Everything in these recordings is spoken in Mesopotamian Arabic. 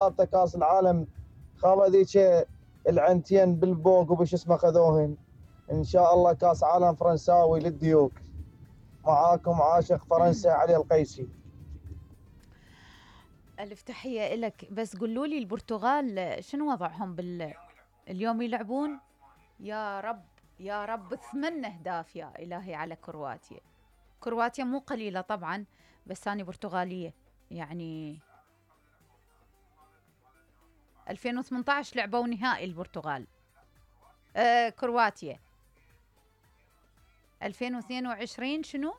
كاس العالم خاله ذيك العنتين بالبوق وبش اسمه خذوهن. ان شاء الله كاس عالم فرنساوي للديوك. معاكم عاشق فرنسا علي القيسي. ألف تحية إلك. بس قولوا لي البرتغال شنو وضعهم اليوم يلعبون؟ يا رب يا رب 8 أهداف يا إلهي على كرواتيا. كرواتيا مو قليلة طبعا، بس أنا برتغالية يعني. 2018 لعبوا نهائي البرتغال كرواتيا. 2022 شنو؟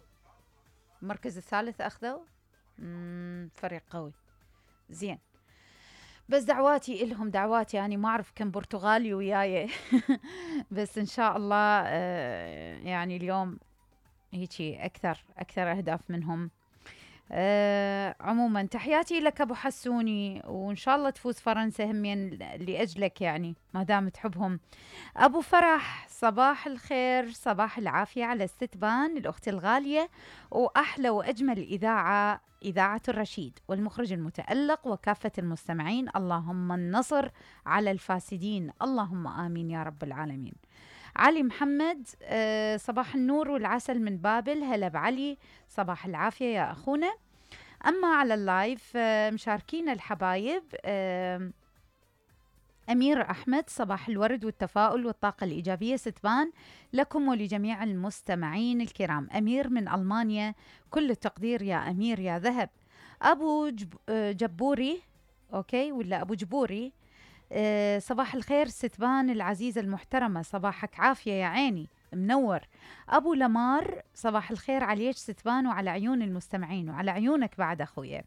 المركز الثالث أخذوا. فريق قوي زين. بس دعواتي إلهم، دعواتي يعني ما أعرف كم برتغالي وياي بس إن شاء الله يعني اليوم هيجي أكثر أهداف منهم. عموما تحياتي لك أبو حسوني، وإن شاء الله تفوز فرنسا همين لأجلك يعني ما دام تحبهم. أبو فرح صباح الخير، صباح العافية على الستبان الأخت الغالية، وأحلى وأجمل إذاعة الرشيد والمخرج المتألق وكافة المستمعين. اللهم النصر على الفاسدين، اللهم آمين يا رب العالمين. علي محمد صباح النور والعسل من بابل. هلا بعلي، صباح العافية يا أخونا. أما على اللايف مشاركين الحبايب أمير أحمد، صباح الورد والتفاؤل والطاقة الإيجابية ستبان لكم ولجميع المستمعين الكرام. أمير من ألمانيا، كل التقدير يا أمير يا ذهب. أبو جبوري أوكي ولا أبو جبوري، صباح الخير ستبان العزيزة المحترمة، صباحك عافية يا عيني منور. أبو لمار صباح الخير عليك ستبان وعلى عيون المستمعين وعلى عيونك بعد أخويا.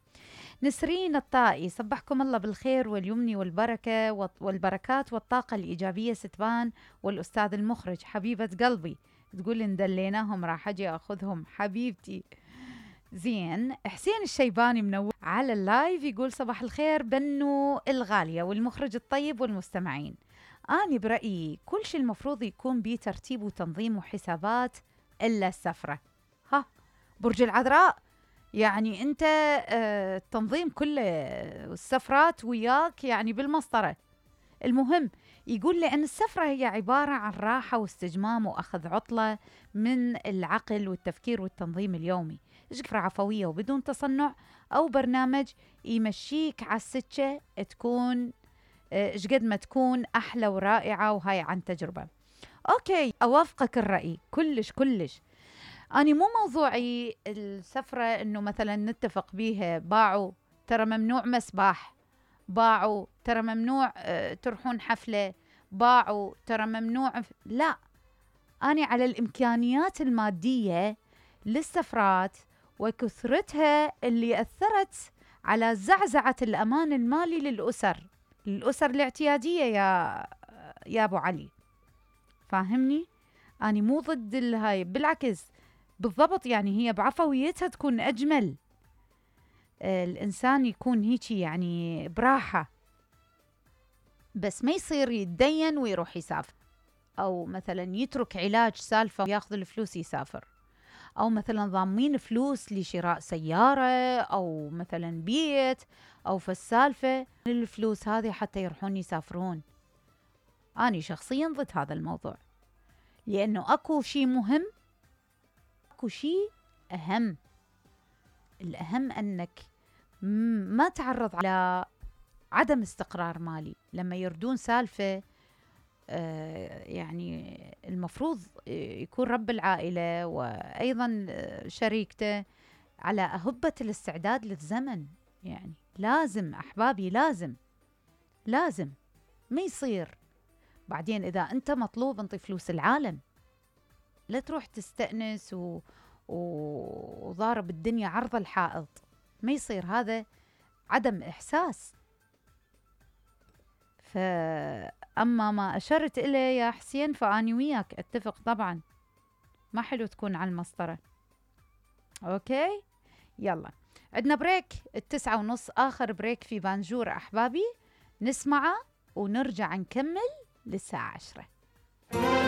نسرين الطائي، صبحكم الله بالخير واليمن والبركة والبركات والطاقة الإيجابية ستبان والأستاذ المخرج حبيبة قلبي. تقول اندليناهم راح أجي أخذهم حبيبتي. زين. حسين الشيباني منور على اللايف يقول صباح الخير بنو الغالية والمخرج الطيب والمستمعين. أنا برأيي كل شيء المفروض يكون بيه ترتيب وتنظيم وحسابات إلا السفرة. ها برج العذراء يعني أنت التنظيم كله السفرات وياك يعني بالمسطرة. المهم يقول لي أن السفرة هي عبارة عن راحة واستجمام وأخذ عطلة من العقل والتفكير والتنظيم اليومي. سفرة عفوية وبدون تصنع أو برنامج يمشيك على السكة تكون قد ما تكون أحلى ورائعة، وهاي عن تجربة. أوكي أوافقك الرأي كلش. أنا مو موضوعي السفرة إنه مثلا نتفق بيها باعوا ترى ممنوع مسباح، باعوا ترى ممنوع تروحون حفلة، باعوا ترى ممنوع لا. أنا على الإمكانيات المادية للسفرات وكثرتها اللي أثرت على زعزعة الأمان المالي للأسر الاعتيادية يا أبو علي. فاهمني؟ أنا مو ضد الهاي، بالعكس بالضبط يعني هي بعفويتها تكون أجمل. الإنسان يكون هيك يعني براحة، بس ما يصير يتدين ويروح يسافر، أو مثلا يترك علاج سالفة وياخذ الفلوس يسافر، أو مثلا ضامين فلوس لشراء سيارة أو مثلا بيت أو فالسالفة الفلوس هذه حتى يروحون يسافرون. أنا شخصيا ضد هذا الموضوع، لأنه أكو شيء مهم، أكو شيء أهم. الأهم أنك ما تعرض على عدم استقرار مالي. لما يردون سالفة يعني المفروض يكون رب العائلة وأيضا شريكته على أهبة الاستعداد للزمن. يعني لازم أحبابي لازم ما يصير بعدين إذا أنت مطلوب انطي فلوس العالم، لا تروح تستأنس وضارب الدنيا عرض الحائط. ما يصير، هذا عدم إحساس. فأما ما أشرت إليه يا حسين فأني وياك أتفق طبعا، ما حلو تكون على المسطرة. أوكي يلا عندنا بريك 9:30، آخر بريك في بانجور أحبابي، نسمعه ونرجع نكمل للساعة 10.